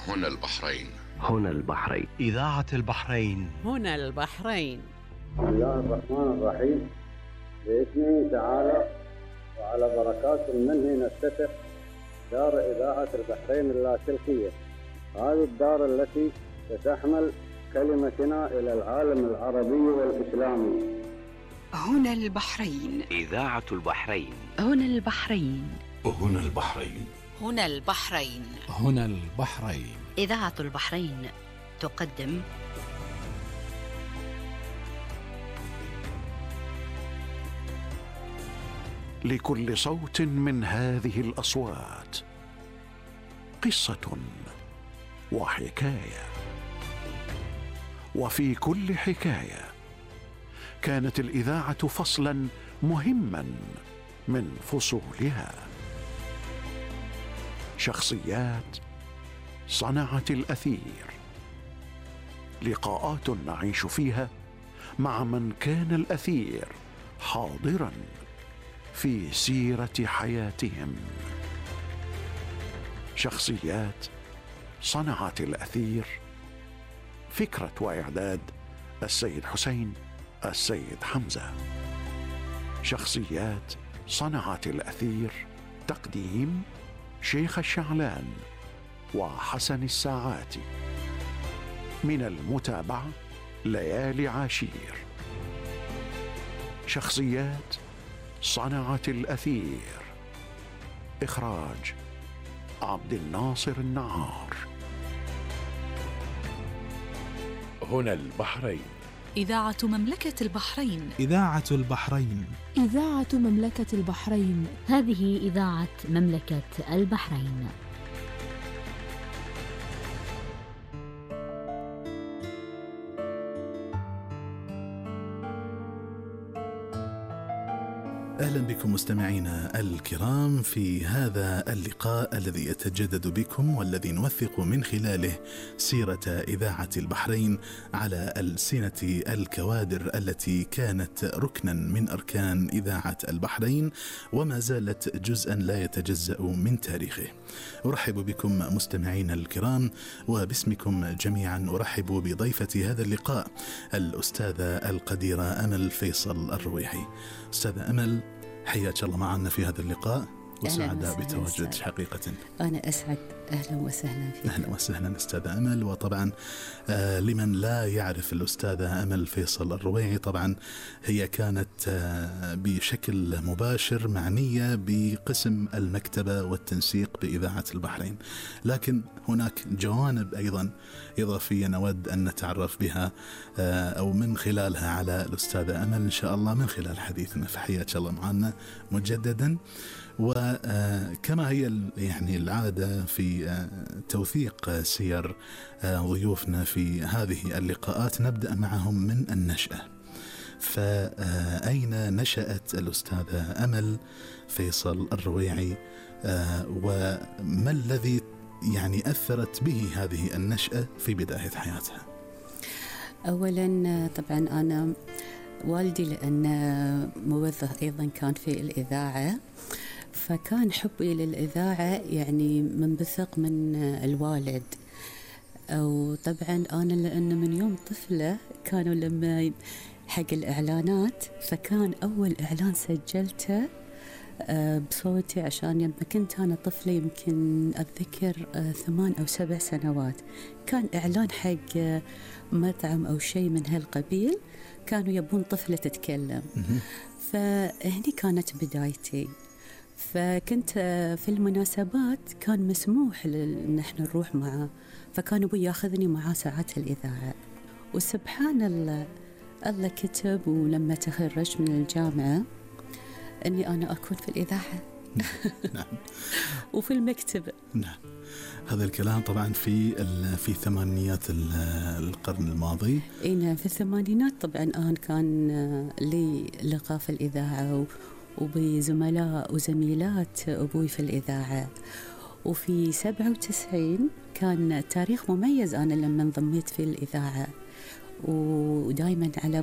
هنا البحرين. هنا البحرين. إذاعة البحرين. هنا البحرين. بسم الله الرحمن الرحيم. بإذنه تعالى وعلى بركات منه نفتتح دار إذاعة البحرين اللاسلكية. هذه الدار التي ستحمل كلمتنا إلى العالم العربي والإسلامي. هنا البحرين. إذاعة البحرين. هنا البحرين. هنا البحرين. هنا البحرين. هنا البحرين. إذاعة البحرين تقدم لكل صوت من هذه الأصوات قصة وحكاية، وفي كل حكاية كانت الإذاعة فصلا مهما من فصولها. شخصيات صنعت الأثير، لقاءات نعيش فيها مع من كان الأثير حاضرا في سيرة حياتهم. شخصيات صنعت الأثير. فكرة وإعداد السيد حسين السيد حمزة. شخصيات صنعت الأثير. تقديم شيخ الشعلان وحسن الساعاتي. من المتابعة ليالي عاشير. شخصيات صنعت الأثير. إخراج عبد الناصر النعار. هنا البحرين. إذاعة مملكة البحرين. إذاعة البحرين. إذاعة مملكة البحرين. هذه إذاعة مملكة البحرين. أهلا بكم مستمعينا الكرام في هذا اللقاء الذي يتجدد بكم والذي نوثق من خلاله سيرة إذاعة البحرين على ألسنة الكوادر التي كانت ركنا من أركان إذاعة البحرين وما زالت جزءا لا يتجزأ من تاريخه. أرحب بكم مستمعينا الكرام، وباسمكم جميعا أرحب بضيفة هذا اللقاء الأستاذة القديرة أمل فيصل الرويحي. أستاذة أمل، حياك الله معنا في هذا اللقاء وسعداء بتواجد حقيقة. أنا أسعد. أهلا وسهلا فيك. أهلا وسهلا أستاذة أمل. وطبعا لمن لا يعرف الأستاذة أمل فيصل الرويحي، طبعا هي كانت بشكل مباشر معنية بقسم المكتبة والتنسيق بإذاعة البحرين، لكن هناك جوانب أيضا إضافية نود أن نتعرف بها أو من خلالها على الأستاذة أمل إن شاء الله من خلال حديثنا. فحياك الله معنا مجددا. وكما هي يعني العادة في توثيق سير ضيوفنا في هذه اللقاءات، نبدأ معهم من النشأة. فأين نشأت الأستاذة أمل فيصل الرويحي، وما الذي يعني أثرت به هذه النشأة في بداية حياتها؟ أولا طبعا أنا والدي لأن موظف أيضا كان في الإذاعة، فكان حبي للإذاعة يعني منبثق من الوالد. وطبعا أنا لأن من يوم طفلة كانوا لما حق الإعلانات، فكان أول إعلان سجلته بصوتي عشان لما كنت أنا طفلة يمكن أتذكر 8 أو 7 سنوات، كان إعلان حق مطعم أو شيء من هالقبيل، كانوا يبون طفلة تتكلم. فهني كانت بدايتي. فكنت في المناسبات كان مسموح ان احنا نروح معه، فكان ابوي ياخذني معاه ساعات الإذاعة. وسبحان الله، الله كتب ولما تخرجت من الجامعة اني انا اكون في الإذاعة. نعم. وفي المكتبة. نعم. هذا الكلام طبعا في ثمانينيات القرن الماضي. نعم، في الثمانينات. طبعا أنا كان لي لقاء في الإذاعة وبزملاء وزميلات أبوي في الإذاعة. وفي 97 كان تاريخ مميز أنا لما انضميت في الإذاعة، ودائما على